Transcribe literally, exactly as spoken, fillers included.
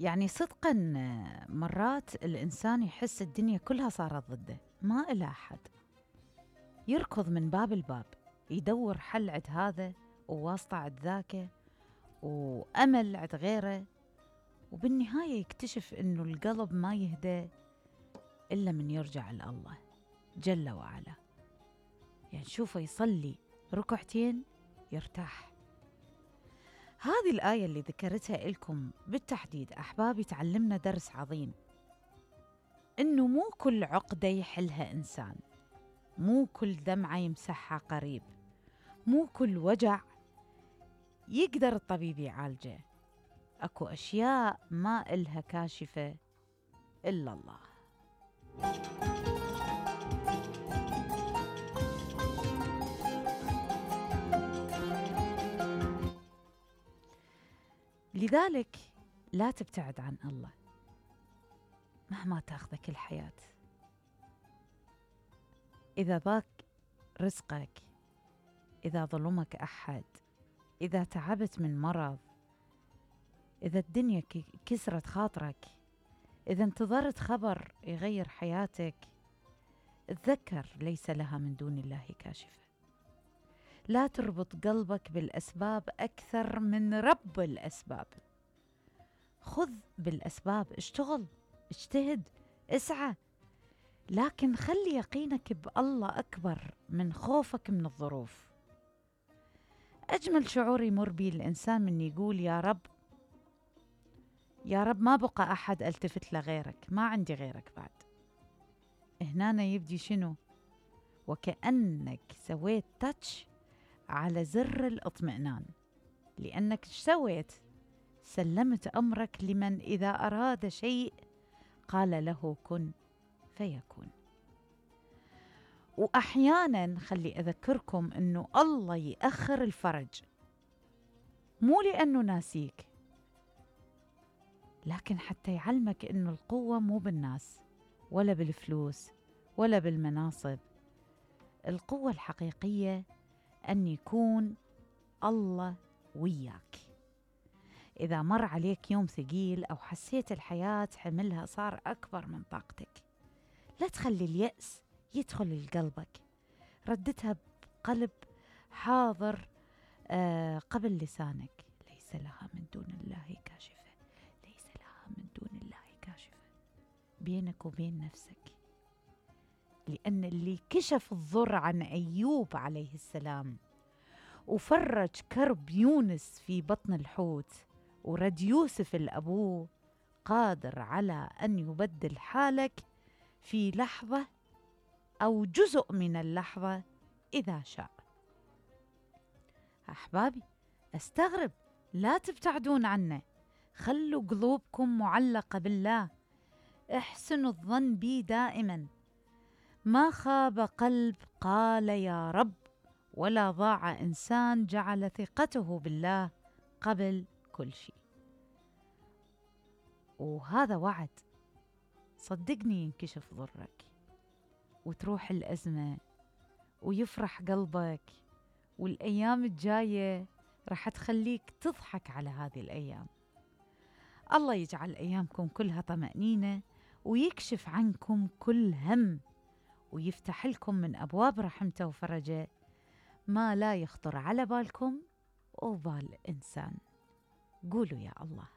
يعني صدقاً مرات الإنسان يحس الدنيا كلها صارت ضده، ما إلى أحد، يركض من باب الباب يدور حل عند هذا وواسطة عند ذاك وأمل عند غيره، وبالنهاية يكتشف إنه القلب ما يهدى إلا من يرجع لله جل وعلا. يعني شوفه يصلي ركعتين يرتاح. هذه الآية اللي ذكرتها لكم بالتحديد أحبابي تعلمنا درس عظيم، إنه مو كل عقدة يحلها إنسان، مو كل دمعة يمسحها قريب، مو كل وجع يقدر الطبيب يعالجه. أكو أشياء ما إلها كاشفة إلا الله. لذلك لا تبتعد عن الله مهما تاخذك الحياة. إذا ضاق رزقك، إذا ظلمك أحد، إذا تعبت من مرض، إذا الدنيا كسرت خاطرك، إذا انتظرت خبر يغير حياتك، تذكر ليس لها من دون الله كاشفة. لا تربط قلبك بالأسباب أكثر من رب الأسباب. خذ بالأسباب، اشتغل، اجتهد، اسعى، لكن خلي يقينك بالله أكبر من خوفك من الظروف. أجمل شعور يمر به الإنسان من يقول يا رب، يا رب ما بقى أحد ألتفت لغيرك، ما عندي غيرك بعد. هنا يبدي شنو؟ وكأنك سويت تاتش على زر الاطمئنان، لأنك سويت؟ سلمت أمرك لمن إذا أراد شيء قال له كن فيكون. وأحيانا خلي أذكركم أنه الله يأخر الفرج مو لأنه ناسيك، لكن حتى يعلمك أنه القوة مو بالناس ولا بالفلوس ولا بالمناصب. القوة الحقيقية أن يكون الله وياك. إذا مر عليك يوم ثقيل أو حسيت الحياة حملها صار أكبر من طاقتك، لا تخلي اليأس يدخل لقلبك، ردتها بقلب حاضر آه قبل لسانك. ليس لها من دون الله كاشفة، ليس لها من دون الله كاشفة، بينك وبين نفسك. لأن اللي كشف الضر عن أيوب عليه السلام وفرج كرب يونس في بطن الحوت ورد يوسف الأبوه، قادر على أن يبدل حالك في لحظة أو جزء من اللحظة إذا شاء. أحبابي أستغرب، لا تبتعدون عنه، خلوا قلوبكم معلقة بالله، احسنوا الظن بي دائما. ما خاب قلب قال يا رب، ولا ضاع إنسان جعل ثقته بالله قبل كل شيء. وهذا وعد، صدقني ينكشف ضرك وتروح الأزمة ويفرح قلبك، والأيام الجاية راح تخليك تضحك على هذه الأيام. الله يجعل أيامكم كلها طمأنينة ويكشف عنكم كل هم ويفتح لكم من أبواب رحمته وفرجه ما لا يخطر على بالكم وبال إنسان. قولوا يا الله.